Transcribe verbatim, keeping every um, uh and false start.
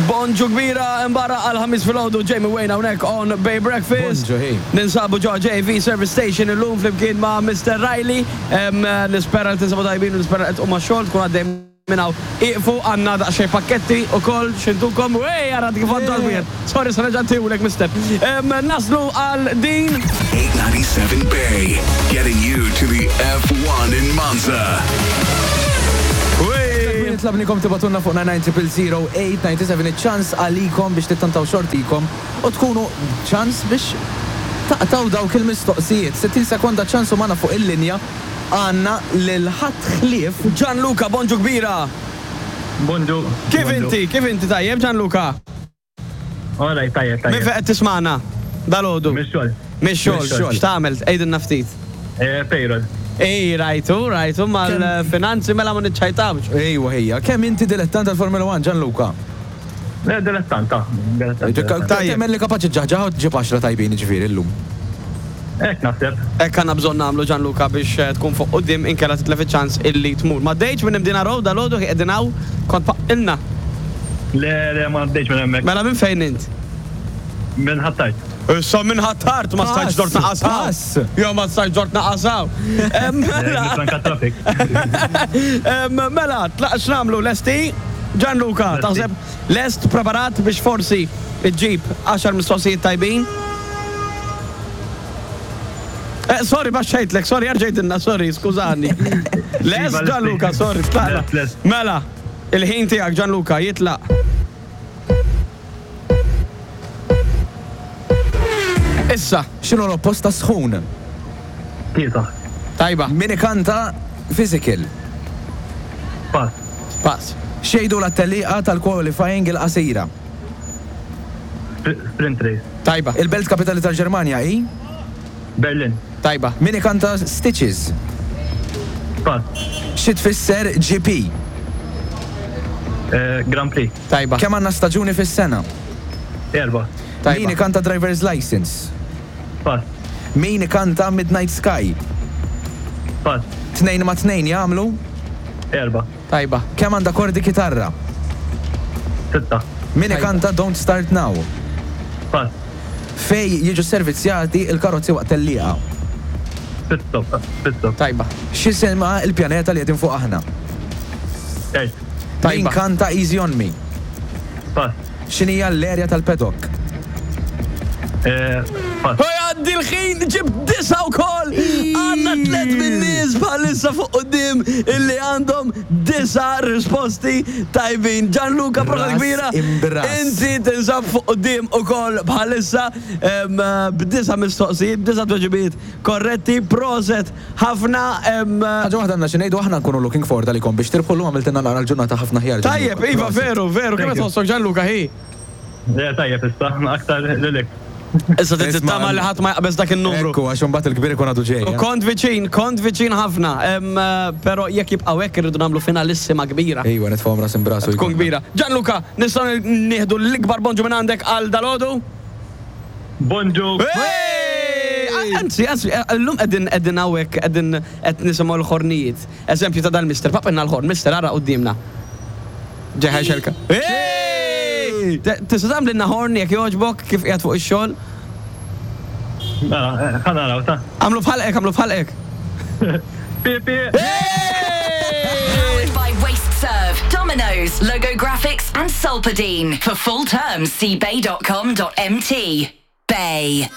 Bonġu kbira imbarra għal-Ħamis filgħodu, Jamie Wayne hawnhekk on Bay Breakfast. Bonġu, hey. Ninsabu ġo J V Service Station illum flimkien ma' Mister Riley. Em, Nispera li tinsabu tajbin u nispera li tqum għax-xogħol tkun għaddej minn hawn. Iqfu, għandna daqsxejn pakketti u kol xintukom. Ej, għara kif għaddu għal-wieħed. Sorry, sa nerġa' ntihulek, mister. Em, Naslu għal din. eight ninety-seven Bay, getting you to the F one in Monza. Wej. Tlabnikom tibagħtulna fuq nine nine zero zero eight nine seven, ċans għalikom biex tittantaw xortikom u tkunu ċans biex taqtaw dawk il-mistoqsijiet. sittin sekonda ċans u magħna fuq il-linja għandna lil ħadd ħlief Gianluca, bonġu kbira. Bonġu. Kif Bonġu. inti? Kif inti, tajjeb, Gianluca? Alright, tajjeb, Min tajjeb. fejn qed tismagħna dalgħodu? Mix-xogħol. Mix-xogħol, Mix-xogħol. x'tagħmel? Għidilna ftit. Eh, Payroll. Ej, rajtu, rajtu, mal-finanzi mela ma niċċajtawx. Ejwa ħija, kemm inti dilettant tal-Formula one, Gianluca? Le, dilettanta. Dilettanta. Tajjeb. Temmen li kapaċi ġaħġaħ u ġib għaxra tajbin ġifieri llum. Hekk naħseb. Hekk għandna bżonn nagħmlu, Gianluca, biex eh, tkun fuq quddiem, inkella titlef iċ-ċans illi tmur. Ma dejċ minn Imdina Road dalgħodu qegħdin hawn, kont paqqilna. Le, le, ma għaddejx minn hemmhekk. Mela minn fejn int? Minn Ħ'Attard. Issa minn Ħ'Attard ma stajtx dort naqasaw. Pass. Jo, ma stajtx dort naqasaw. Em, Mela, Franka traffic. em, mela, tlaq x'nagħmlu, lesti? Gianluca, Lesti. taħseb lest, preparat biex forsi iġġib għaxar mistoqsijiet tajbin? Eh, sorry, baxxejtlek, sorry, erġajtinna, sorry, skużani. Lest, Iva, Gianluca, lesti. sorry, tlaqna. Lest, lest. Mela, il-ħin tiegħek, Gianluca, jitlaq. Issa. X'inhu l-oppost ta' sħun? Kiesaħ. Tajba. Min ikanta Physical? Pass. Pass. X'jgħidu lit-tellieqa tal-qualifying il-qasira? Spr- Sprint race. Tajba. Il-belt kapitali tal-Ġermanja hi? Berlin. Tajba. Min ikanta Stitches? Pass. Xi tfisser G P? Eh, Grand Prix. Tajba. Kemm għandna staġuni fis-sena? Erba. Tajba. Min ikanta Driver's License? Pass. Min ikanta Midnight Sky? Pass. Tnejn ma' tnejn jagħmlu? Erba. Tajba. Kemm għandha kordi kitarra? Sitta. Min Tajba. ikanta Don't Start Now? Pass. Fej jiġu servizzjati il-karozzi waqt tellieqa? Pit stop. Pit stop. Tajba. X'jisimha il-pjaneta li qegħdin fuq aħna? Earth. Min Tajba. kanta Easy on Me? Pass. X'inhija l-erja tal-paddock? Eh, Pass. U għaddi l-ħin, ġib disa u koll! Għandna tlet min-nies bħalissa fuq quddiem illi għandhom disa risposti tajbin. Gianluca, prosa Ras kbira. imbras. Inti tinsab fuq quddiem u koll bħalissa em, b'disa mistoqsijiet, b'disa tweġibiet korretti, proset ħafna. em, Ħaġa waħda għandna xi ngħidu, aħna nkunu looking forward għalikom biex tirbħu llum, għamiltilna naqra l-ġurnata ħafna aħjar. Tajjeb, Gianluca. iva, Proset. veru, veru, kemm Thank you. tħossok, Gianluca, hi? Le, tajjeb issa, aktar lilek. Issa Isma' tittama li ħadd ma jaqbeż dak il-numru. Ekku, għax imbagħad il-kbir ikun għadu ġej. U eh. kont viċin, kont viċin ħafna, em, eh, pero jekk jibqgħu hekk irridu nagħmlu finalissima kbira. Ejwa, nitfgħu ras imbrasu. Tkun kbira. Gianluca, nistgħu nieħdu l-ikbar bonġu minn għandek għal dalgħodu? Bonġu. Hey! Anzi, anzi, llum qegħdin qegħdin hawnhekk qegħdin qed nisimgħu l-ħornijiet. Eżempju ta' dal-mister, papinna l-ħorn, mister, ara qudiemna. Ġeħa xelka. Hey! Tista' tagħmlilna ħorn jekk jogħġbok kif qiegħed fuq ix-xogħol? Mela, eh, ħa naraw, ta' Għamlu bħalqek, għamlu bħalqek. Pi, pi. Hey! Powered by Waste Serve, Domino's, Logo Graphics, and Solpadeine. For full terms, see bay dot com dot M T. Bay.